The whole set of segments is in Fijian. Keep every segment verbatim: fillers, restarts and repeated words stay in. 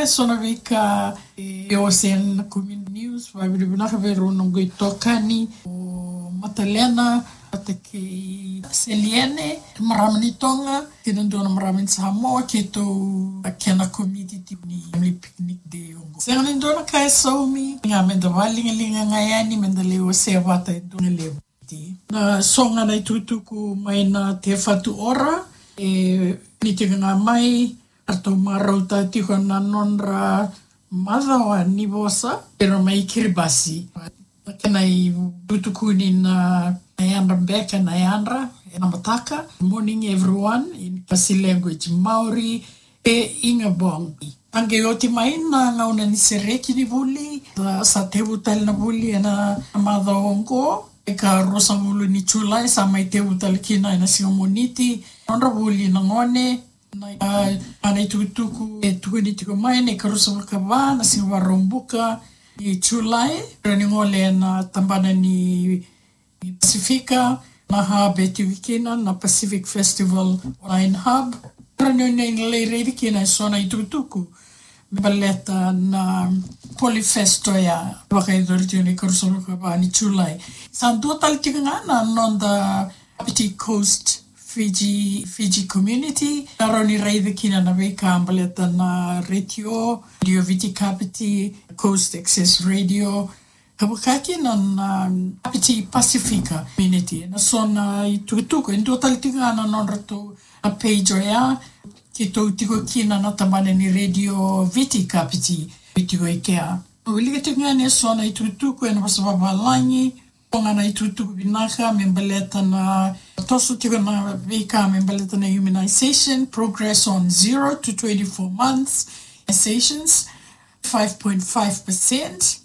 So na veika e, o se na community news, vakavinavinaka vei rau noqu itokani, o Matalena, vata kei Seliene, marama ni Toga, kei na dua na marama ni Samoa, keitou, a kena committee ni family picnic day oqo. Sega ni dua na ka e saumi, ga meda vakaligaliga ga yani, meda lai wasea vata e dua na levu. Na so ga na itukutuku mai na Te Whatu Ora, e, ni tiko ga mai, ratou marautaka tiko na nodra macawa ni vosa, era mai Kiribati. Na kena itukutukuni na, na yadra beka, na yadra, ena mataka, morning everyone, in Kiribati language, Maori, e Ingabong. A qai oti mai na gauna ni sereki ni vuli, sa, sa tevu tale na vuli ena macawa oqo, e ka ruasagavulu ni Julai, sa mai tevu tale kina ena siga Moniti, nodra vuli na gone, na, a, a na itukutuku, e tukuni tiko mai, na ikaruasagavulu ka va, na siga Vakaraubuka, ni Julai, ra ni gole ena tabana ni ni Pasifika, na hub e tiko kina, na Pacific Festival Online Hub. Ra ni, ni lai raici kina e so na itukutuku me baleta na Polyfest oya, vakayacori tiko na ikaruasagavulu ka va ni Julai. Sa dua tale tiko ga na noda Kapiti Coast Fiji, Fiji Community. Ra ni raici kina na veika baleta na retio, Radio Viti Kapiti, Coast Access Radio, ka vaka kina na, na Kapiti Pasifika Community. Na so na itukutuku, e dua tale tiko ga na nodratou na page oya, keitou tiko kina na tabana ni Radio Viti Kapiti, e tiko i kea. Wilika tiko ga ni so na itukutuku ena vosa vavalagi, o ga na itukutuku vinaka me baleta na, toso tiko na veika me baleta na immunization, progress on zero to twenty-four months, immunizations, five point five percent,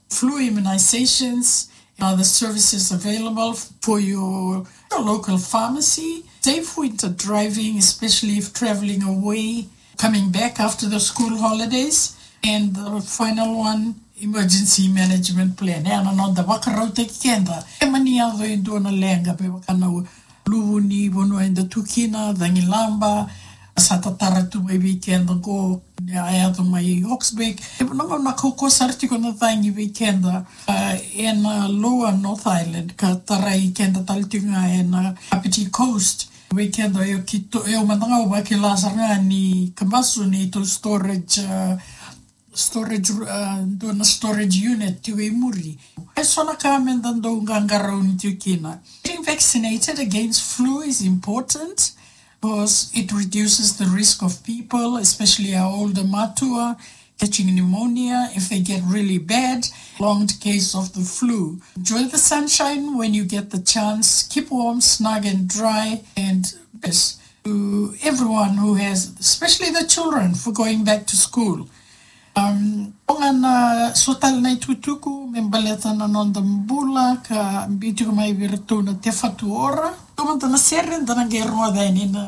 flu immunizations, and other services available for your, your local pharmacy. Safe winter driving, especially if traveling away, coming back after the school holidays. And the final one, emergency management plan. E na noda vakarautaki keda. E mani yaco e dua na leqa, me vaka na luvu ni vanua eda tu kina, Cagilaba, sa tatara tu mai vei keda qo, a yaco mai Hawke's Bay. E na gauna kaukauwa sara tiko na cagi vei keda, a, ena Lower North Island, ka tarai keda tale tiko ga ena Kapiti Coast. Vei keda, e o keitou, e o mada ga au vakila sara ga ni kabasu ni tou storage, a, storage, a, dua na storage unit tiko i muri. E so na ka meda dau qaqarauni tiko kina. Getting vaccinated against flu is important because it reduces the risk of people, especially our older matua, catching pneumonia if they get really bad, prolonged case of the flu. Enjoy the sunshine when you get the chance. Keep warm, snug and dry, and best to everyone who has, especially the children, for going back to school. Um, o ga na so tale na itukutuku me baleta na noda bula ka biu tiko mai vei iratou na Te Whatu Ora. Tou mada na sere, da na qai rogoca yani na